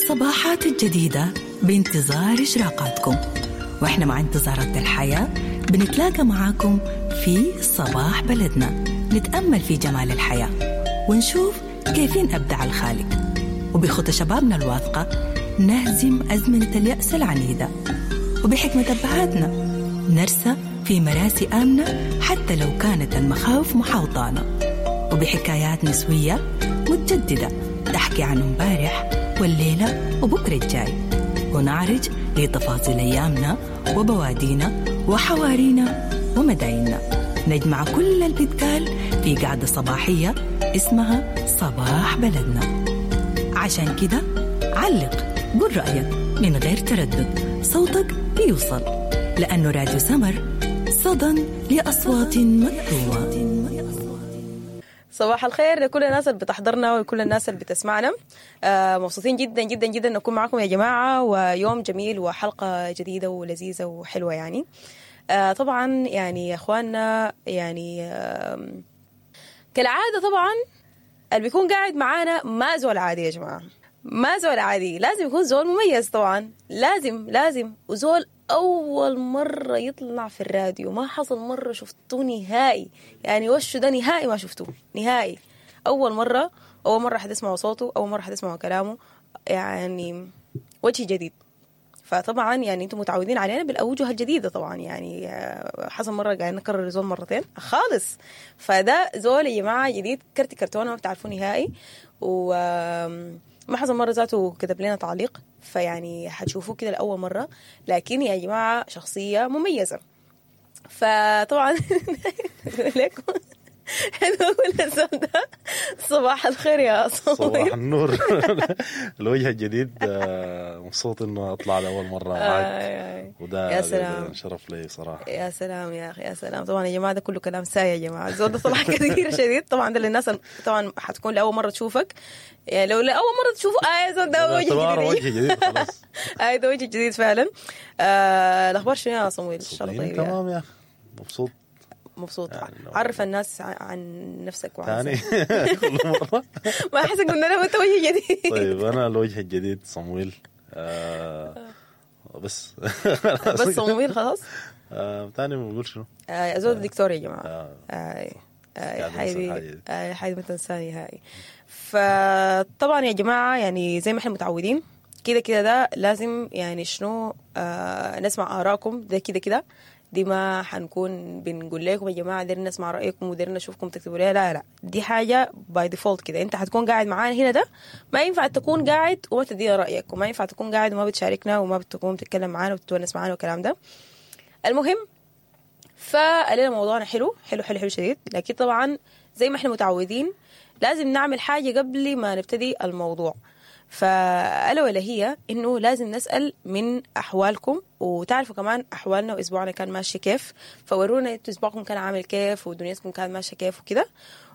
الصباحات الجديدة بانتظار إشراقاتكم، وإحنا مع انتظارات الحياة بنتلاقى معاكم في صباح بلدنا، نتأمل في جمال الحياة ونشوف كيفين أبدع الخالق، وبخطى شبابنا الواثقة نهزم أزمنة اليأس العنيدة، وبحكمة أبهاتنا نرسى في مراسي آمنة حتى لو كانت المخاوف محاوطانا، وبحكايات نسوية متجددة تحكي عن امبارح والليلة وبكرة الجاي، ونعرج لتفاصيل أيامنا وبوادينا وحوارينا ومدايننا. نجمع كل اللي بيتقال في قعدة صباحية اسمها صباح بلدنا. عشان كده علق، قول رأيك من غير تردد، صوتك بيوصل، لأنه راديو سمر صدى لأصوات مكتومة. صباح الخير لكل الناس اللي بتحضرنا ولكل الناس اللي بتسمعنا. مبسوطين جدا جدا جدا نكون معكم يا جماعة، ويوم جميل وحلقة جديدة ولذيذة وحلوة يعني. طبعا يعني يا اخواننا، يعني كالعادة طبعا اللي بيكون قاعد معانا ما زول عادي يا جماعة، ما زول عادي، لازم يكون زول مميز طبعا، لازم وزول أول مرة يطلع في الراديو، ما حصل مرة شفتوه نهائي، يعني وشه ده نهائي ما شفتوه نهائي، أول مرة حتسمعوا صوته، أول مرة حتسمعوا كلامه، يعني وجه جديد. فطبعا يعني انتم متعودين علينا بالأوجه الجديدة طبعا، يعني حصل مرة قاعد نكرر زول مرتين خالص، فده زول يا جماعة جديد، كرت كرتونة ما بتعرفوه نهائي، وما حصل مرة ذاته كتب لنا تعليق، فيعني حتشوفوه كده لأول مرة، لكن يا جماعة شخصية مميزة. فطبعا لكم نقول الزول ده صباح الخير يا صباح صباح النور. الوجه الجديد، مبسوط انه اطلع لاول مرة معاك، وده يا سلام شرف لي صراحة. يا سلام يا اخي، يا سلام. طبعا يا جماعة ده كله كلام ساي يا جماعة، الزول ده طلع كثير شديد. طبعا ده للناس طبعا حتكون لاول مرة تشوفك، يعني لو لاول مرة تشوفه يا زول ده وجه جديد، وجه جديد خلاص. ده وجه جديد فعلا. الاخبار شنو يا صمويل؟ ان شاء الله طيب. تمام يا اخي، مبسوط مبسوط. يعني عرف الناس عن نفسك وعن ثاني كل مرة ما أحس قلنا له أنت وجه جديد. طيب أنا الوجه الجديد صمويل. بس بس صمويل خلاص. ثاني ما بقول شنو. زول دكتور يا جماعة. حيدي ما تنساني هاي. فطبعا يا جماعة يعني زي ما احنا متعودين كده كده ده لازم يعني شنو نسمع آراءكم، ده كده كده دي ما حنكون بنقول لكم يا جماعة ديرنا نسمع رايكم وديرنا نشوفكم تكتبوا ليه، لا لا، دي حاجة by default كده. انت حتكون قاعد معانا هنا، ده ما ينفع تكون قاعد وما تدينا رايك، وما ينفع تكون قاعد وما بتشاركنا وما بتكون بتتكلم معانا وبتتونس معانا والكلام ده. المهم فقالنا موضوعنا حلو حلو حلو حلو شديد، لكن طبعا زي ما احنا متعودين لازم نعمل حاجة قبل ما نبتدي الموضوع. فألا ولا هي إنه لازم نسأل من أحوالكم، وتعرفوا كمان أحوالنا وأسبوعنا كان ماشي كيف، فورونا إنتوا أسبوعكم كان عامل كيف ودنيتكم كانت ماشية كيف وكده،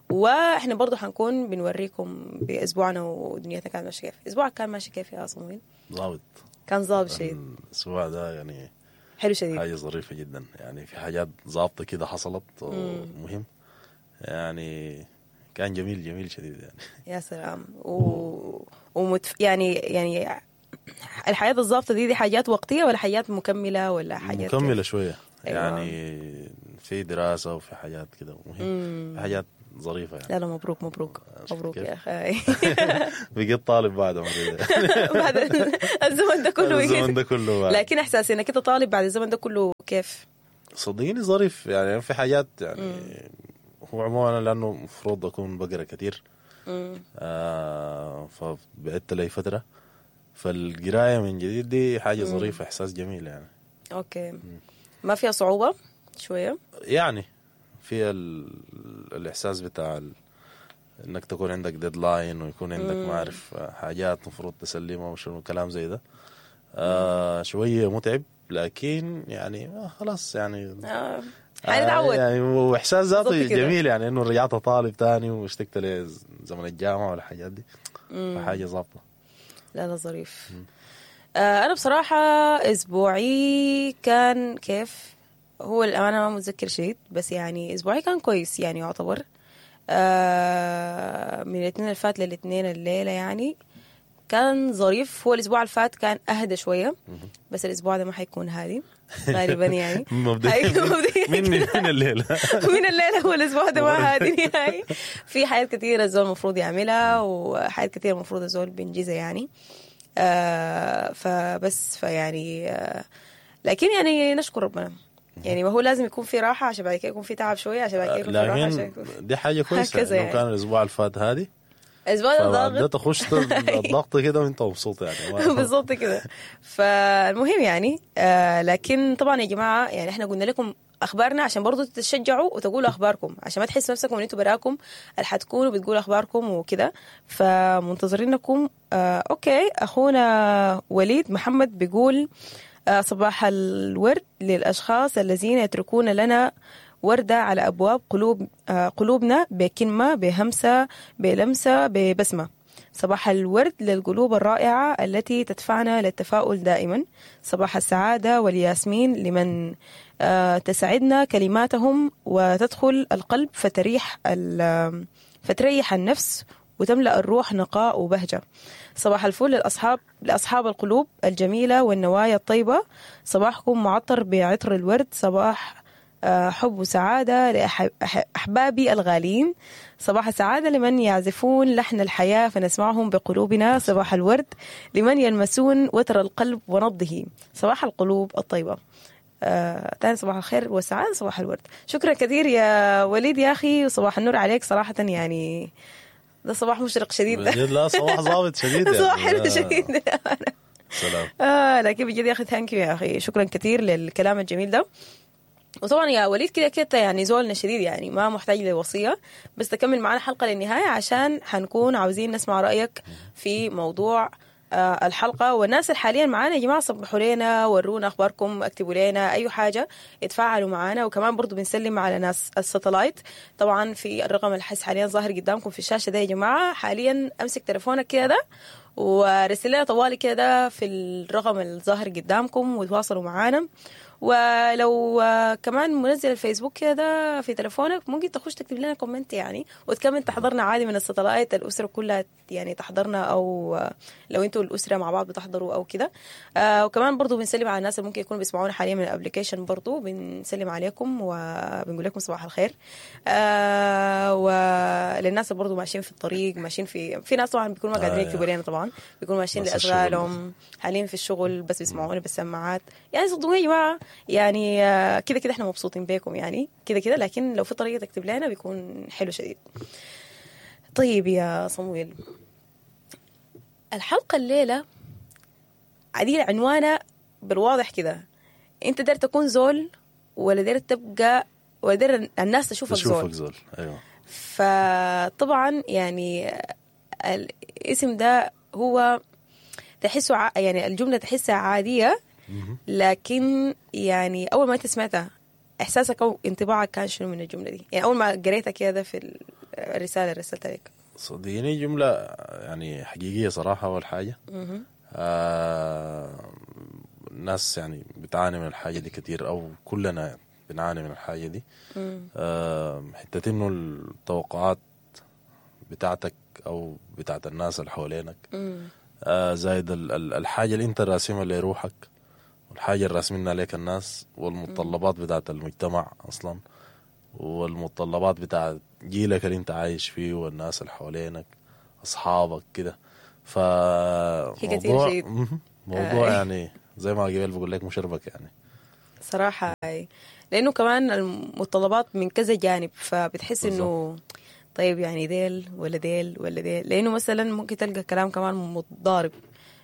وإحنا برضو حنكون بنوريكم بأسبوعنا ودنيتنا كانت ماشية كيف. أسبوعك كان ماشي كيف يا صمويل؟ ظابط، كان ظابط شديد الأسبوع ده، يعني حلو شديد، حاجة ظريفة جدا، يعني في حاجات ظابطة كده حصلت ومهم، يعني كان جميل جميل شديد يعني. يا سلام. يعني الحياة الظابطة دي حاجات وقتية ولا حاجات مكملة ولا حاجات مكملة شوية؟ أيوة. يعني في دراسة وفي حاجات كده مهم، في حاجات ظريفة يعني. لا لا، مبروك مبروك مبروك يا أخي. بقيت طالب بعد بعد الزمن ده كله، الزمن ده كله بعد. لكن إحساسي إنك أنت طالب بعد الزمن ده كله كيف؟ صدقيني ظريف يعني، في حاجات يعني هو عموما لأنه مفروض أكون بقرأ كثير، فبعدت لي فترة، فالقراية من جديد دي حاجة ظريفة، إحساس جميل يعني. okay. ما فيها صعوبة شوية؟ يعني فيها الإحساس بتاع إنك تكون عندك deadline ويكون عندك ما أعرف حاجات مفروض تسلمها وشنو كلام زي ده، شوية متعب، لكن يعني خلاص يعني حنتعود يعني، واحساس ذاته جميل يعني انه رجعت طالب تاني واشتقت لزمن الجامعة والحاجات دي، فحاجه ظابطة. لا لا ظريف. انا بصراحة اسبوعي كان كيف، هو الامانة ما متذكر شيء، بس يعني اسبوعي كان كويس يعني يعتبر. من الاثنين اللي فات للاثنين الليلة يعني كان ظريف. هو الاسبوع اللي فات كان اهدى شوية، بس الاسبوع ده ما حيكون هادي غالبا يعني. مبدئيا من الليلة من الليلة هو الاسبوع ده ما هادي نهائي. في حاجات كثيرة الزول المفروض يعملها، وحاجات كثيرة المفروض الزول بينجزها يعني. فبس فيعني لكن يعني نشكر ربنا يعني، ما هو لازم يكون في راحة عشان بعد كده يكون في تعب شوية، عشان بعد كده يكون في راحة، عشان يكون دي حاجة كويسة يعني. لو كان الاسبوع اللي فات هادي، الاسبوع ده ضاغط، تخش الضغط كده وانت مبسوط يعني. بالظبط كده. فالمهم يعني لكن طبعا يا جماعة يعني احنا قلنا لكم اخبارنا عشان برضو تتشجعوا وتقولوا اخباركم، عشان ما تحسوا نفسكم ان انتوا براكم اللي حتكونوا بتقولوا اخباركم وكده. فمنتظرينكم. okay، اخونا وليد محمد بيقول صباح الورد للاشخاص الذين يتركون لنا وردة على أبواب قلوبنا بكلمة، بهمسة، بلمسة، ببسمة. صباح الورد للقلوب الرائعة التي تدفعنا للتفاؤل دائما. صباح السعادة والياسمين لمن تسعدنا كلماتهم وتدخل القلب فتريح النفس وتملأ الروح نقاء وبهجة. صباح الفل لأصحاب القلوب الجميلة والنوايا الطيبة. صباحكم معطر بعطر الورد. صباح حب وسعادة لأحبابي الغاليين. صباح السعادة لمن يعزفون لحن الحياة فنسمعهم بقلوبنا. صباح الورد لمن يلمسون وتر القلب ونبضه. صباح القلوب الطيبة. تاني صباح الخير والسعادة، صباح الورد. شكرا كثير يا وليد يا أخي، وصباح النور عليك. صراحة يعني ده صباح مشرق شديد. لا صباح ظابط شديد يعني. صباح حلو شديد. سلام. لكن بجد يا أخي thank you يا أخي، شكرا كثير للكلام الجميل ده. وطبعا يا وليد كده كده يعني زولنا شديد يعني، ما محتاج لوصية، بس تكمل معنا حلقة للنهاية عشان حنكون عاوزين نسمع رأيك في موضوع الحلقة. والناس اللي حاليا معانا يا جماعة صبحوا لنا، ورونا أخباركم، اكتبوا لنا أي حاجة، اتفاعلوا معانا. وكمان برضو بنسلم على ناس ال satellite طبعا في الرقم الحس حاليا ظاهر قدامكم في الشاشة ده يا جماعة. حاليا أمسك تليفونك كده ورسل لنا طوالي كده في الرقم الظاهر قدامكم وتواصلوا معانا. ولو كمان منزل الفيسبوك كده في تلفونك ممكن تخش تكتب لنا comment يعني، وتكمل تحضرنا عادي من ال satellite، الأسرة كلها يعني تحضرنا، أو لو انتوا الأسرة مع بعض بتحضروا أو كده. وكمان برضو بنسلم على الناس اللي ممكن يكونوا بيسمعونا حاليا من ال application، برضو بنسلم عليكم وبنقول لكم صباح الخير. وللناس اللي برضو ماشيين في الطريق، ماشيين في ناس طبعا بيكونوا ما قادرين يكتبوا لنا، طبعا بيكونوا ماشيين لأشغالهم حاليا في الشغل، بس بيسمعونا بالسماعات يعني. صدقوني يا جماعة يعني كده كده احنا مبسوطين بيكم يعني كده كده، لكن لو في طريقة تكتب لنا بيكون حلو شديد. طيب يا صمويل، الحلقة الليلة عديل عنوانها بالواضح كده، انت داير تكون زول ولا داير تبقى ولا داير الناس تشوفك زول؟ زول. ايوه. فطبعا يعني الاسم ده هو تحسه يعني الجملة تحسها عادية، لكن يعني أول ما أنت سمعتها إحساسك أو انطباعك كان شنو من الجملة دي؟ يعني أول ما قريتها كده في الرسالة اللي رسلتها لك. صدقيني جملة يعني حقيقية صراحة. أول حاجة الناس يعني بتعاني من الحاجة دي كتير، أو كلنا بنعاني من الحاجة دي. حتة إنه التوقعات بتاعتك أو بتاعت الناس اللي حوالينك، زايد الحاجة اللي أنت راسمها لروحك، والحاجة اللي راسمينها عليك الناس، والمتطلبات بتاعت المجتمع أصلا، والمتطلبات بتاعت جيلك اللي أنت عايش فيه، والناس اللي حوالينك، أصحابك كده. فموضوع موضوع يعني زي ما قبل بقول لك مشربك يعني صراحة، لأنه كمان المتطلبات من كذا جانب، فبتحس إنه طيب يعني ديل ولا ديل ولا ديل، لأنه مثلا ممكن تلقى كلام كمان متضارب،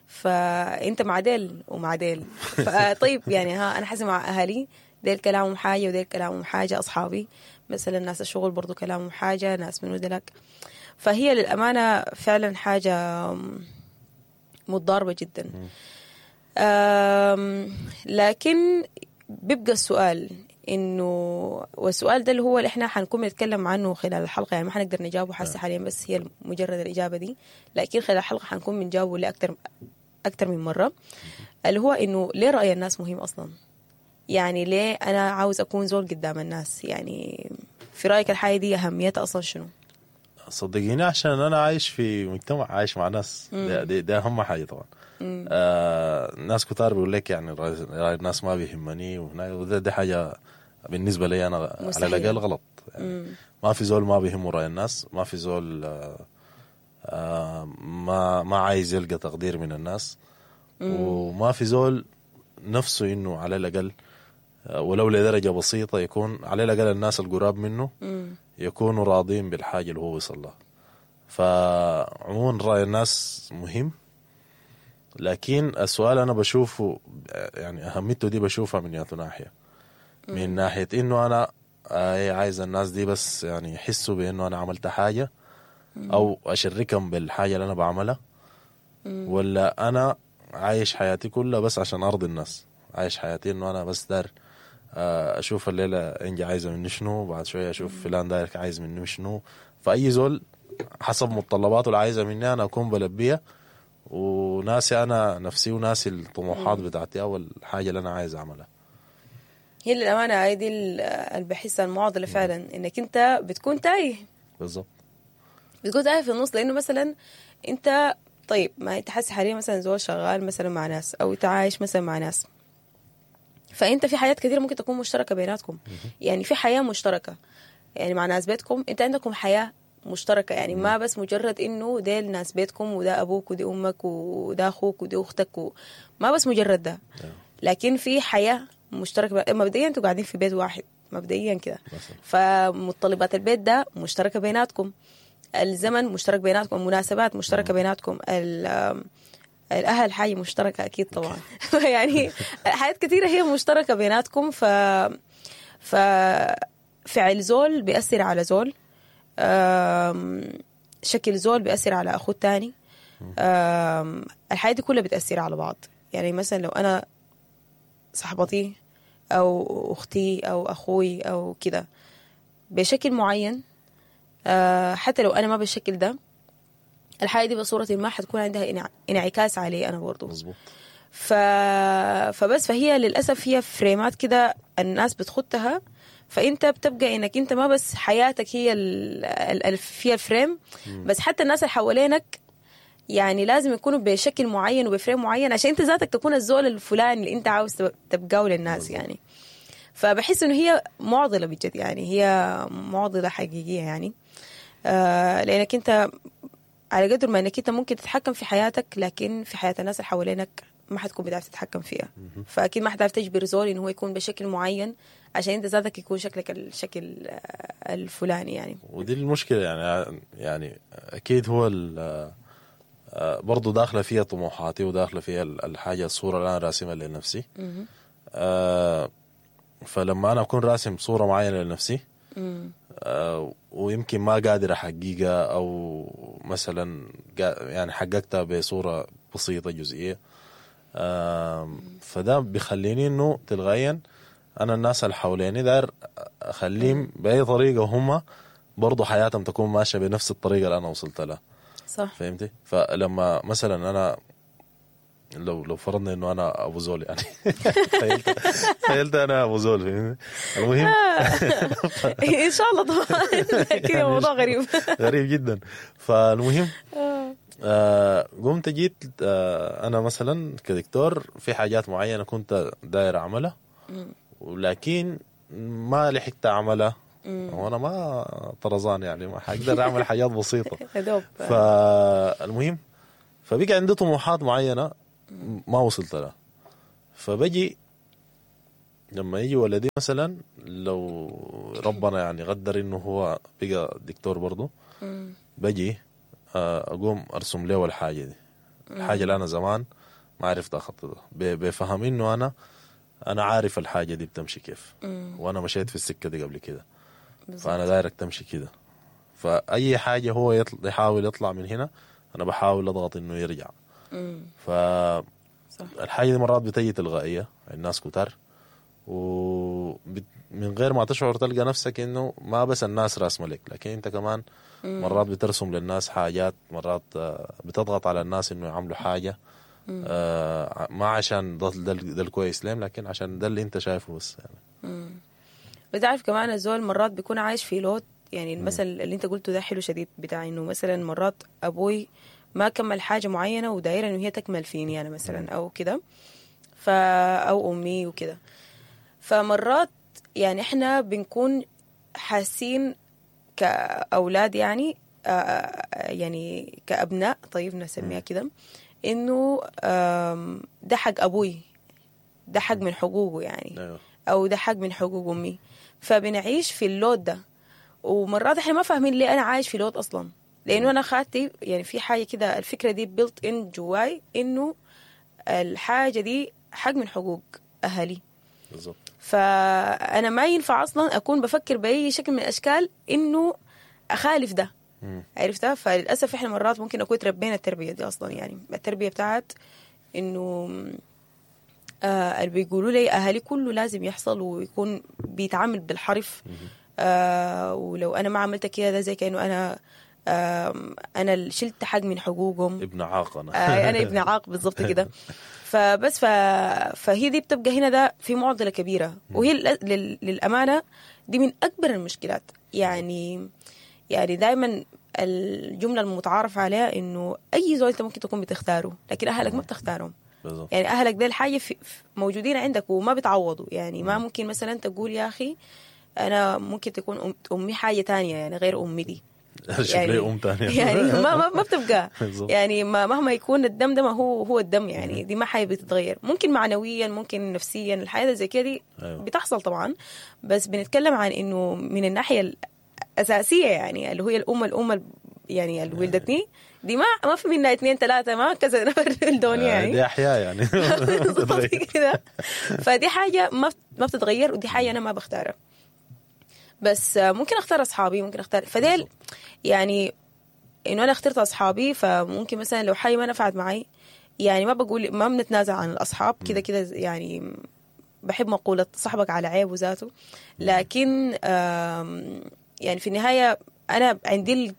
فأنت مع ديل ومع ديل، فطيب يعني ها أنا حاسة مع أهلي ديل كلامهم حاجة وديل كلامهم حاجة، أصحابي مثلا ناس الشغل برضو كلامهم حاجة، ناس من ودلك. فهي للأمانة فعلا حاجة متضاربة جدا. لكن بيبقى السؤال إنه، والسؤال ده اللي هو اللي إحنا حنكون بنتكلم عنه خلال الحلقة، يعني ما حنقدر نجاوبه حاسة حاليا، بس هي مجرد الإجابة دي، لكن خلال الحلقة حنكون بنجاوبه لأكتر أكتر من مرة، اللي هو إنه ليه رأي الناس مهم أصلا؟ يعني ليه أنا عاوز أكون زول قدام الناس؟ يعني في رأيك الحاجة دي أهميتها أصلا شنو؟ صدقيني عشان انا عايش في مجتمع، عايش مع ناس، دي اهم حاجة طبعا. ناس كتار بيقول لك يعني راي الناس ما بيهمني وهنا، وده دي حاجة بالنسبة لي انا مستحيل. على الاقل غلط يعني. ما في زول ما بيهمه راي الناس، ما في زول ما عايز يلقى تقدير من الناس، وما في زول نفسه انه على الاقل ولو لدرجة بسيطة يكون على الاقل الناس القراب منه يكونوا راضين بالحاجة اللي هو وصل لها. فعموما راي الناس مهم، لكن السؤال انا بشوفه يعني اهميته دي بشوفها من ياتو ناحية، من ناحية انه انا عايز الناس دي بس يعني يحسوا بانه انا عملت حاجة او اشركهم بالحاجة اللي انا بعملها، ولا انا عايش حياتي كلها بس عشان ارضي الناس، عايش حياتي انه انا بس دار اشوف الليلة انجي عايزه مني شنو، بعد شوية اشوف فلان داير عايز مني شنو. فاي زول حسب متطلباته اللي عايزه مني انا اكون بلبيها، وناسي انا نفسي وناسي الطموحات بتاعتي او الحاجة اللي انا عايز اعملها. هي للامانة هاي دي اللي بحسها المعضلة فعلا، انك انت بتكون تايه. بالضبط، بتكون تايه في النص، لانه مثلا انت طيب ما انت حاسس حاليا مثلا زول شغال مثلا مع ناس، او انت عايش مثلا مع ناس، فانت في حاجات كثيرة ممكن تكون مشتركة بيناتكم. يعني في حياة مشتركة يعني مع ناس بيتكم، انت عندكم حياة مشتركة، يعني ما بس مجرد انه ديل ناس بيتكم وده ابوك ودي امك وده اخوك ودي اختك ما بس مجرد ده، لكن في حياة مشتركة. مبدئيا انتوا قاعدين في بيت واحد مبدئيا كده، فمتطلبات البيت ده مشتركة بيناتكم، الزمن مشترك بيناتكم، المناسبات مشتركة بيناتكم، الاهل حاجة مشتركة اكيد طبعا. يعني حاجات كثيرة هي مشتركة بيناتكم. ف فعل زول بيأثر على زول، شكل زول بيأثر على اخوه الثاني، الحياة دي كلها بتأثر على بعض. يعني مثلا لو انا صاحبتي او اختي او اخوي او كده بشكل معين، حتى لو انا ما بالشكل ده، الحاجة دي بصورة ما حتكون عندها انعكاس علي انا برضو. مظبوط. فبس فهي للاسف هي فريمات كده الناس بتخطها، فانت بتبقى انك انت ما بس حياتك هي فيها ال frame، بس حتى الناس اللي حوالينك يعني لازم يكونوا بشكل معين وب frame معين عشان انت ذاتك تكون الزول الفلاني اللي انت عاوز تبقاه للناس يعني. فبحس انه هي معضلة بجد، يعني هي معضلة حقيقية يعني، لانك انت على قدر ما انك انت ممكن تتحكم في حياتك، لكن في حياة الناس اللي حوالينك ما حتكون بتعرف تتحكم فيها. فاكيد ما حتعرف تجبر زول انه هو يكون بشكل معين عشان انت ذاتك يكون شكلك الشكل الفلاني يعني. ودي المشكلة يعني اكيد هو برضو داخله فيها طموحاتي وداخله فيها الحاجة الصورة اللي انا راسمها لنفسي. فلما انا اكون راسم صوره معينة لنفسي ويمكن ما قادر احققها، او مثلا يعني حققتها بصورة بسيطة جزئية، فده بيخليني انه تلغيا انا الناس اللي حواليني داير اخليهم باي طريقه هم برضو حياتهم تكون ماشية بنفس الطريقة اللي انا وصلت لها. صح. فهمتي؟ فلما مثلا انا لو فرضنا انه انا ابو زول يعني تخيلت انا ابو زول، فهمتي؟ المهم ان شاء الله طبعا كده موضوع غريب غريب جدا. فالمهم قمت جيت انا مثلا كدكتور في حاجات معينة كنت داير اعملها، ولكن ما لحقت اعملها، وانا ما طرزان يعني ما حقدر اعمل حاجات بسيطة. فالمهم فبقى عندي طموحات معينة ما وصلت لها. فبجي لما يجي ولدي مثلا، لو ربنا يعني قدر انه هو بقى دكتور برضه، بجي اقوم ارسم له الحاجة دي، الحاجة اللي انا زمان ما عرفت اخططها، بفهم انه انا عارف الحاجة دي بتمشي كيف، وانا مشيت في السكة دي قبل كده، فانا دايرك تمشي كده. فاي حاجة هو يحاول يطلع من هنا، انا بحاول اضغط انه يرجع. فالحاجه دي مرات بتجي تلغائيه الناس كتار، ومن غير ما تشعر تلقى نفسك انه ما بس الناس راسمه لك، لكن انت كمان مرات بترسم للناس حاجات، مرات بتضغط على الناس انه يعملوا حاجة ما عشان ده الكويس لهم، لكن عشان ده اللي انت شايفه بس يعني. بتعرف كمان الزول مرات بيكون عايش في load، يعني المثل اللي انت قلته ده حلو شديد، بتاع انه مثلا مرات ابوي ما كمل حاجة معينة ودايره انه هي تكمل فيني انا مثلا او كده، او امي وكده. فمرات يعني احنا بنكون حاسين كاولاد يعني يعني كابناء، طيب نسميها كده، انه ده حق ابوي، ده حق من حقوقه يعني. ايوه او ده حق من حقوق امي. فبنعيش في ال load ده، ومرات احنا ما فاهمين ليه انا عايش في load اصلا، لانه انا خاتي يعني في حاجة كده، الفكرة دي built in جواي انه الحاجة دي حق من حقوق اهلي. بالظبط. فانا ما ينفع اصلا اكون بفكر باي شكل من الاشكال انه اخالف ده. عرفتها؟ فللاسف احنا مرات ممكن نكون تربينا التربية دي اصلا، يعني التربية بتاعت انه اللي بيقولوا لي اهالي كله لازم يحصل ويكون بيتعامل بالحرف، ولو انا ما عملت كده ده زي كانه انا انا اللي شلت حق من حقوقهم، ابن عاق انا. انا ابن عاق بالضبط كده. فبس فهي دي بتبقى هنا ده في معضلة كبيرة، وهي للامانة دي من اكبر المشكلات. يعني دائما الجملة المتعارف عليها انه اي زول انت ممكن تكون بتختاره، لكن اهلك ما بتختارهم. بالضبط. يعني اهلك ده الحاجة موجودين عندك وما بيتعوضوا. يعني ما ممكن مثلا تقول يا اخي انا ممكن تكون امي حاجة تانية يعني غير امي دي، شوف لي ام ثانية يعني ما بتبقى بالظبط. يعني ما مهما يكون الدم ده ما هو الدم، يعني دي ما حاجة بتتغير، ممكن معنويا ممكن نفسيا الحياة زي كده دي أيوة. بتحصل طبعا، بس بنتكلم عن انه من الناحية الاساسية يعني اللي هي الام يعني اللي ولدتني دي ما في منها 2 3 ما كذا نفر ولدوني يعني دي احياء يعني بالظبط كده. فدي حاجة ما بتتغير، ودي حاجة انا ما بختارها، بس ممكن اختار اصحابي، ممكن اختار فديل يعني انه انا اخترت اصحابي. فممكن مثلا لو حاجة ما نفعت معي يعني ما بقول ما بنتنازع عن الاصحاب كده كده، يعني بحب مقولة صاحبك على عيبه ذاته، لكن يعني في النهاية انا عندي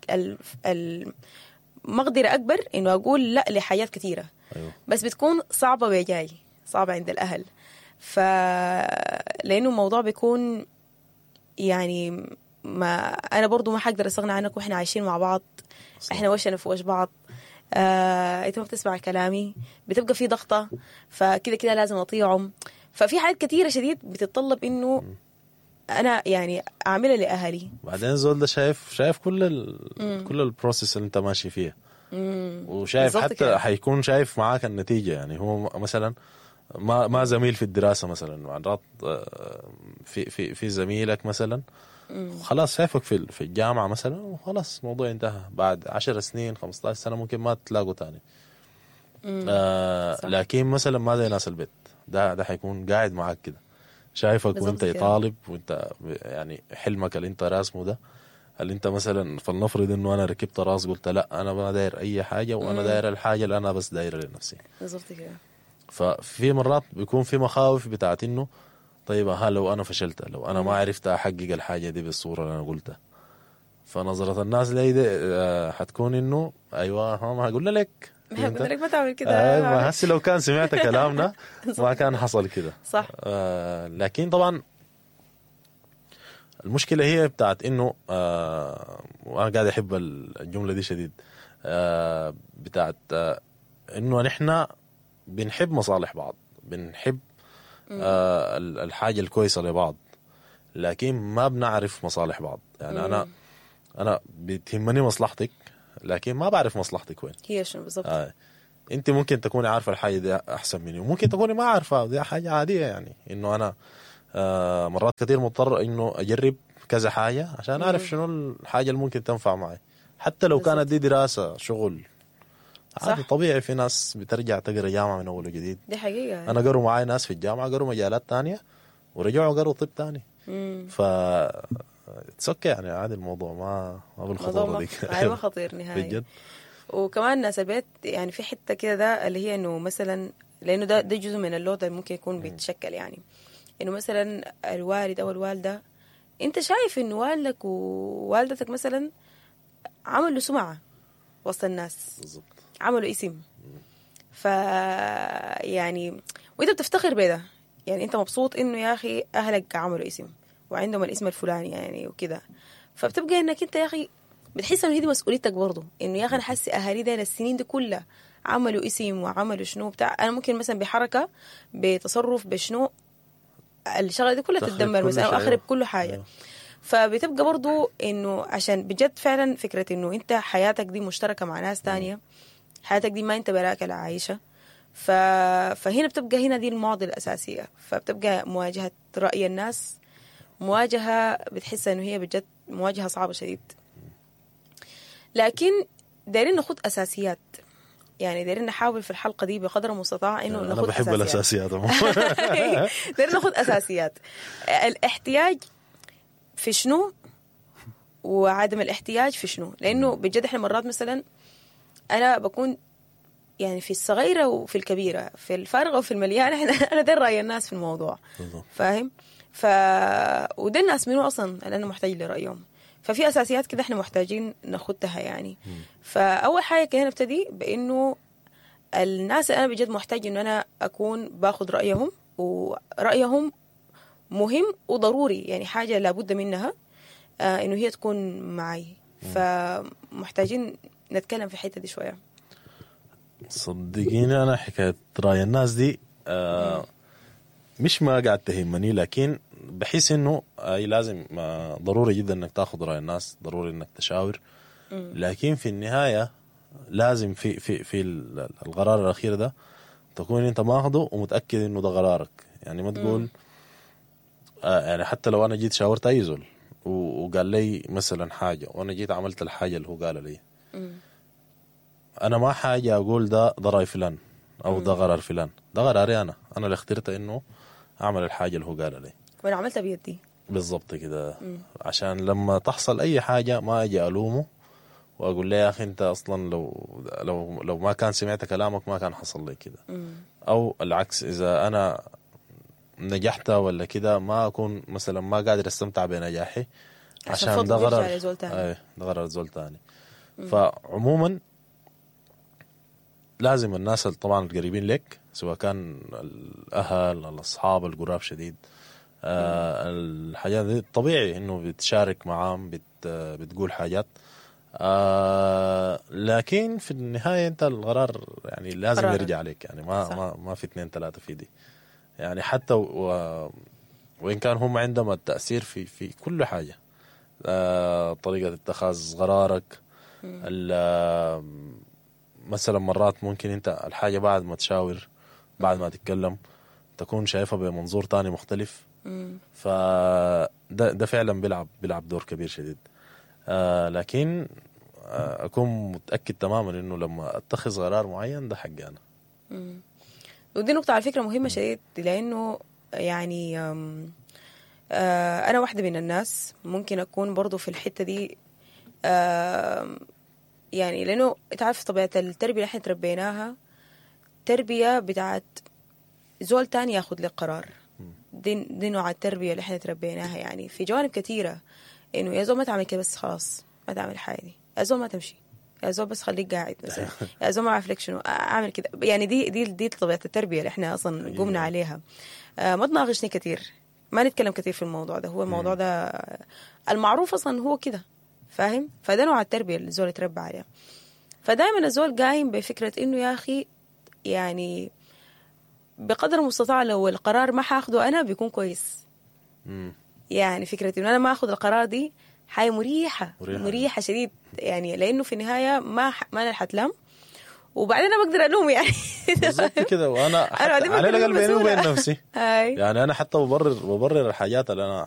المقدرة اكبر انه اقول لا لحاجات كثيرة. أيوه. بس بتكون صعبة بجاي، صعبة عند الاهل، لانه الموضوع بيكون يعني ما انا برضو ما حقدر استغنى عنك، واحنا عايشين مع بعض. صح. احنا وشنا في وش بعض، انت ما بتسمع كلامي، بتبقى في ضغطه، فكده كده لازم اطيعهم. ففي حاجات كثيرة شديد بتتطلب انه انا يعني اعملها لاهلي. بعدين الزول ده شايف كل كل ال process اللي انت ماشي فيها، وشايف حتى كده. حيكون شايف معاك النتيجة. يعني هو مثلا ما زميل في الدراسة مثلا، مرات في في في زميلك مثلا خلاص شايفك في الجامعة مثلا، وخلاص الموضوع انتهى، بعد 10 سنين 15 سنة ممكن ما تلاقوا تاني. لكن مثلا ما زي ناس البيت، ده حيكون قاعد معاك كده، شايفك وانت طالب، وانت يعني حلمك اللي انت راسمه ده، اللي انت مثلا فلنفرض انه انا ركبت راس قلت لا انا ما داير اي حاجة، وانا داير الحاجة اللي انا بس دايرها لنفسي. بالضبط كده. ففي مرات بيكون في مخاوف بتاعت انه طيب ها لو انا فشلت، لو انا ما عرفت احقق الحاجة دي بالصورة اللي انا قلتها، فنظره الناس لي دي حتكون انه ايوه ما قلنا لك، ما قلنا لك ما تعمل كده، ما هسي لو كان سمعت كلامنا ما كان حصل كده. صح. لكن طبعا المشكلة هي بتاعت انه وانا قاعد احب الجملة دي شديد، بتاعت انه نحن بنحب مصالح بعض، بنحب الحاجة الكويسة لبعض، لكن ما بنعرف مصالح بعض. يعني أنا بتهمني مصلحتك، لكن ما بعرف مصلحتك وين هي شنو بالضبط. أنت ممكن تكوني عارفة الحاجة دي أحسن مني، وممكن تكوني ما عارفة، دي حاجة عادية. يعني إنه أنا مرات كثير مضطر إنه أجرب كذا حاجة عشان أعرف شنو الحاجة اللي ممكن تنفع معي، حتى لو كانت دي دراسة شغل عادي طبيعي. في ناس بترجع تقرا جامعة من أول وجديد، دي حقيقة. أنا قروا معاي ناس في الجامعة قروا مجالات تانية ورجعوا قروا طب تاني. ف okay يعني عادي الموضوع، ما بالخطورة دي. أيوة خطير نهائي بجد. وكمان ناس البيت يعني في حتة كده ده اللي هي إنه مثلا، لأنه ده جزء من ال load اللي ممكن يكون بيتشكل، يعني إنه مثلا الوالد أو الوالدة، أنت شايف إنه والدك ووالدتك مثلا عملوا سمعة وسط الناس، بالضبط، عملوا اسم، ف يعني وانت بتفتخر بده، يعني انت مبسوط انه يا اخي اهلك عملوا اسم وعندهم الاسم الفلاني يعني وكده. فبتبقى انك انت يا اخي بتحس انه هي دي مسؤوليتك برضه، انه يا اخي انا حاسه اهالي ده السنين دي كلها عملوا اسم وعملوا شنو بتاع، انا ممكن مثلا بحركة بتصرف بشنو الشغلة دي كلها تتدمر مثلا او اخرب كل حاجة. أيوه. فبتبقى برضو انه عشان بجد فعلا فكرة انه انت حياتك دي مشتركة مع ناس تانية، حياتك دي ما انت براك اللي عايشه. فهنا بتبقى هنا دي المعضلة الاساسية. فبتبقى مواجهة راي الناس مواجهة بتحس انه هي بجد مواجهة صعبة شديد. لكن دايرين ناخد اساسيات، يعني دايرين نحاول في الحلقة دي بقدر المستطاع انه ناخد اساسيات. انا بحب الاساسيات. دايرين ناخد اساسيات. الاحتياج في شنو وعدم الاحتياج في شنو، لانه بجد احنا مرات مثلا انا بكون يعني في الصغيرة وفي الكبيرة، في الفارغة وفي المليانة، انا داير راي الناس في الموضوع، فاهم؟ وده الناس منو اصلا اللي انا محتاج لرايهم. ففي اساسيات كده احنا محتاجين ناخدها يعني. فاول حاجة كده نبتدي بانه الناس اللي انا بجد محتاج انه انا اكون باخد رايهم، ورايهم مهم وضروري، يعني حاجة لابد منها انه هي تكون معي. فمحتاجين نتكلم في الحتة دي شوية. صدقيني انا حكاية راي الناس دي مش ما قاعد تهمني، لكن بحس انه اي لازم ضروري جدا انك تاخذ راي الناس، ضروري انك تشاور، لكن في النهاية لازم في في في القرار الاخير ده تكون انت ماخده ومتاكد انه ده قرارك. يعني ما تقول يعني حتى لو انا جيت شاورت اي زول وقال لي مثلا حاجة وانا جيت عملت الحاجة اللي هو قالها لي، انا ما حاجة اقول ده راي فلان او ده قرار فلان، ده قراري انا اللي اخترت انه اعمل الحاجة اللي هو قالها لي وانا عملتها بيدي بالضبط كده. عشان لما تحصل اي حاجة ما اجي الومه واقول له يا اخي انت اصلا لو لو لو ما كان سمعت كلامك ما كان حصل لي كده، او العكس اذا انا نجحت ولا كده ما اكون مثلا ما قادر استمتع بنجاحي عشان ده قرار ده قرار زول تاني. فعموما لازم الناس طبعا القريبين لك، سواء كان الاهل، الاصحاب القراب شديد، الحاجات دي طبيعي انه بتشارك معاهم، بتقول حاجات، لكن في النهاية انت القرار يعني لازم قرار يرجع عليك. يعني ما ما في 2 3 في دي يعني، حتى وان كان هم عندهم التاثير في كل حاجة، طريقه اتخاذ قرارك، مثلا مرات ممكن انت الحاجة بعد ما تشاور، بعد ما تتكلم، تكون شايفها بمنظور تاني مختلف. فده ده فعلا بيلعب دور كبير شديد. لكن اكون متاكد تماما انه لما اتخذ قرار معين ده حقي انا. ودي نقطة على فكرة مهمة شديد، لانه يعني انا واحدة من الناس ممكن اكون برضو في الحتة دي، يعني لانه تعرف طبيعة التربية اللي احنا تربيناها، تربيه بتاعت زول تاني ياخد لك قرار. دي نوع التربية اللي احنا تربيناها يعني في جوانب كثيرة، انه يا زول ما تعمل كده بس خلاص، ما تعمل حاجة دي، يا زول ما تمشي، يا زول بس خليك قاعد مثلا، يا زول ما اعرف لك شنو اعمل كده. يعني دي طبيعة التربية اللي احنا اصلا قمنا عليها. ما تناقشني كثير، ما نتكلم كثير في الموضوع ده، هو الموضوع ده المعروف اصلا هو كده، فاهم؟ فده نوع التربية اللي الزول يتربى عليها. فدائما الزول قايم بفكره انه يا اخي يعني بقدر المستطاع لو القرار ما حاخده انا بيكون كويس. يعني فكرة انه انا ما اخذ القرار دي حاجة مريحه مريحه شديد يعني، لانه في النهاية ما انا حتلام، وبعدين انا بقدر الوم يعني. بالضبط كده. وانا على الاقل بيني وبين نفسي يعني انا حتى ببرر الحاجات اللي انا